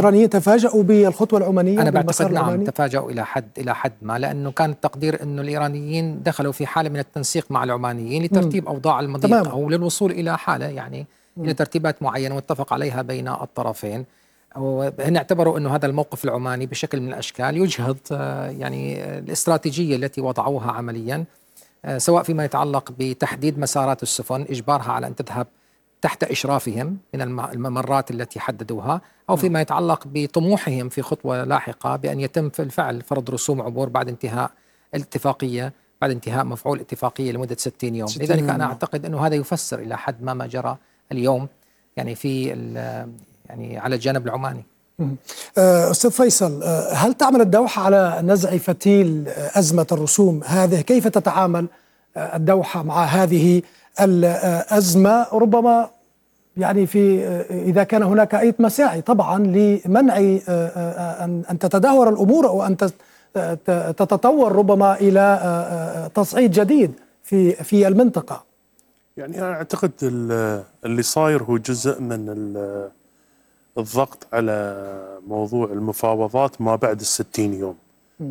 الإيرانيين تفاجؤوا بالخطوة العمانية؟ أنا بعتقد نعم تفاجؤوا إلى حد ما، لأنه كان التقدير أنه الإيرانيين دخلوا في حالة من التنسيق مع العمانيين لترتيب أوضاع المضيق أو للوصول إلى حالة يعني إلى ترتيبات معينة متفق عليها بين الطرفين. وهن اعتبروا أنه هذا الموقف العماني بشكل من الأشكال يجهض يعني الاستراتيجية التي وضعوها عمليا، سواء فيما يتعلق بتحديد مسارات السفن، إجبارها على أن تذهب تحت إشرافهم من الممرات التي حددوها، أو فيما يتعلق بطموحهم في خطوة لاحقة بأن يتم في الفعل فرض رسوم عبور بعد انتهاء الاتفاقية، بعد انتهاء مفعول الاتفاقية لمدة 60 يوم. لذلك أنا أعتقد أنه هذا يفسر إلى حد ما جرى اليوم يعني يعني على الجانب العماني. أستاذ فيصل، هل تعمل الدوحة على نزع فتيل أزمة الرسوم هذه؟ كيف تتعامل الدوحة مع هذه الأزمة؟ ربما يعني إذا كان هناك أي مساعي طبعا لمنع أن تتدهور الأمور أو أن تتطور ربما إلى تصعيد جديد في المنطقة. يعني أنا أعتقد اللي صاير هو جزء من الضغط على موضوع المفاوضات ما بعد 60 يوم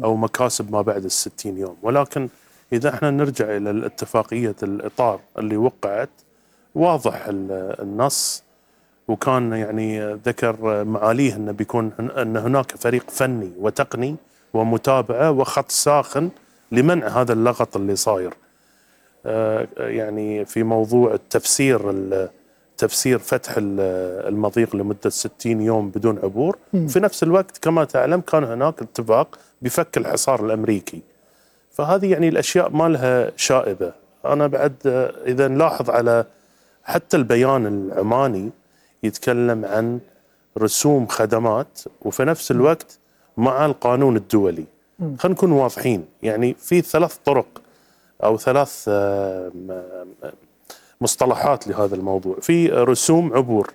أو مكاسب ما بعد 60 يوم. ولكن إذا احنا نرجع إلى الاتفاقية الإطار اللي وقعت، واضح النص، وكان يعني ذكر معاليه أن بيكون أن هناك فريق فني وتقني ومتابعة وخط ساخن لمنع هذا اللغط اللي صاير. يعني في موضوع تفسير فتح المضيق لمدة 60 يوم بدون عبور. في نفس الوقت كما تعلم كان هناك اتفاق بفك الحصار الأمريكي. فهذه يعني الأشياء ما لها شائبة. أنا بعد إذا نلاحظ على حتى البيان العماني يتكلم عن رسوم خدمات وفي نفس الوقت مع القانون الدولي. خلينا نكون واضحين، يعني في 3 طرق أو 3 مصطلحات لهذا الموضوع. في رسوم عبور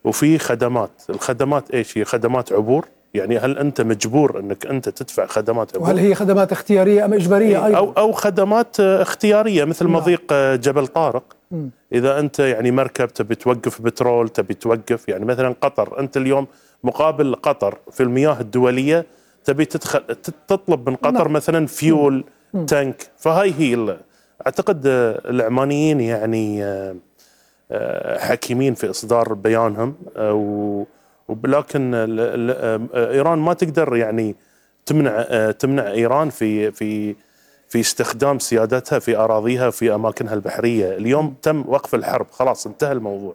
وفي خدمات. الخدمات ايش هي؟ خدمات عبور، يعني هل انت مجبور انك انت تدفع خدمات عبور؟ وهل هي خدمات اختياريه ام اجباريه ايضا؟ او خدمات اختياريه مثل مضيق جبل طارق. اذا انت يعني مركب تبي توقف بترول، تبي توقف يعني مثلا قطر، انت اليوم مقابل قطر في المياه الدوليه تبي تطلب من قطر مثلا فيول تانك. فهاي هي اعتقد العمانيين يعني حكيمين في اصدار بيانهم، ولكن ايران ما تقدر يعني تمنع ايران في استخدام سيادتها في اراضيها في اماكنها البحريه. اليوم تم وقف الحرب، خلاص انتهى الموضوع.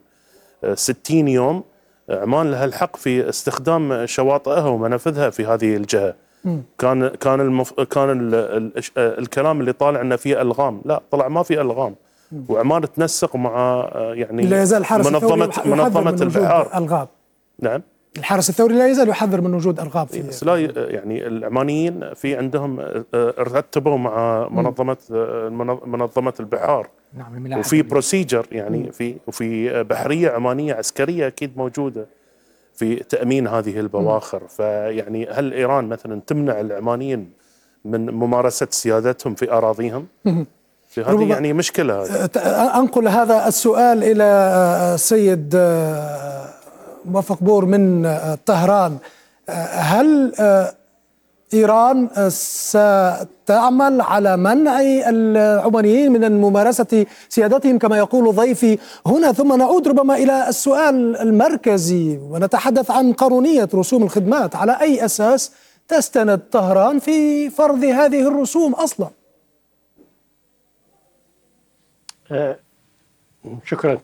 60 يوم عمان لها الحق في استخدام شواطئها ومنافذها في هذه الجهه. كان الكلام اللي طالع انه فيه الغام، لا طلع ما فيه الغام. وعمان تنسق مع يعني لا يزال الحرس منظمه البحار الغاب. نعم، الحرس الثوري لا يزال يحذر من وجود الغاب في بس لا يعني العمانيين في عندهم رتبوا مع منظمه البحار. نعم، وفي بروسيجر يعني وفي بحريه عمانيه عسكريه اكيد موجوده في تأمين هذه البواخر. فيعني هل إيران مثلا تمنع العمانيين من ممارسة سيادتهم في أراضيهم؟ هذه يعني مشكلة. أنقل هذا السؤال إلى السيد موفق بور من طهران. هل إيران ستعمل على منع العمانيين من ممارسة سيادتهم كما يقول ضيفي هنا؟ ثم نعود ربما إلى السؤال المركزي ونتحدث عن قانونية رسوم الخدمات. على أي أساس تستند طهران في فرض هذه الرسوم أصلا؟ شكرا.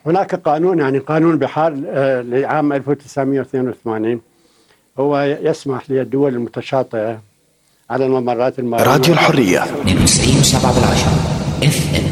هناك قانون، يعني قانون بحار لعام 1982 هو يسمح للدول المتشاطئة على الممرات المائية. راديو الحرية 92.7 FM.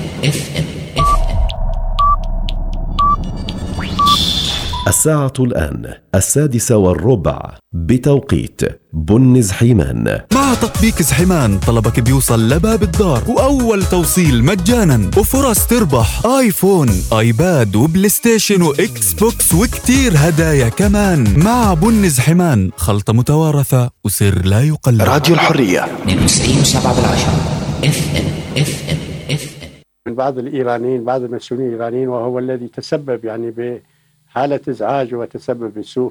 الساعة الآن 6:15 بتوقيت بن زحيمان. مع تطبيق زحيمان طلبك بيوصل لباب الدار وأول توصيل مجانا وفرص تربح آيفون، آيباد وبلاي ستيشن وإكس بوكس وكتير هدايا كمان. مع بن زحيمان خلطة متوارثة وسر لا يقلد. راديو الحرية 92.7 FM. من بعض الإيرانيين، بعض المسؤولين الإيرانيين، وهو الذي تسبب يعني بحالة إزعاج وتسبب بسوء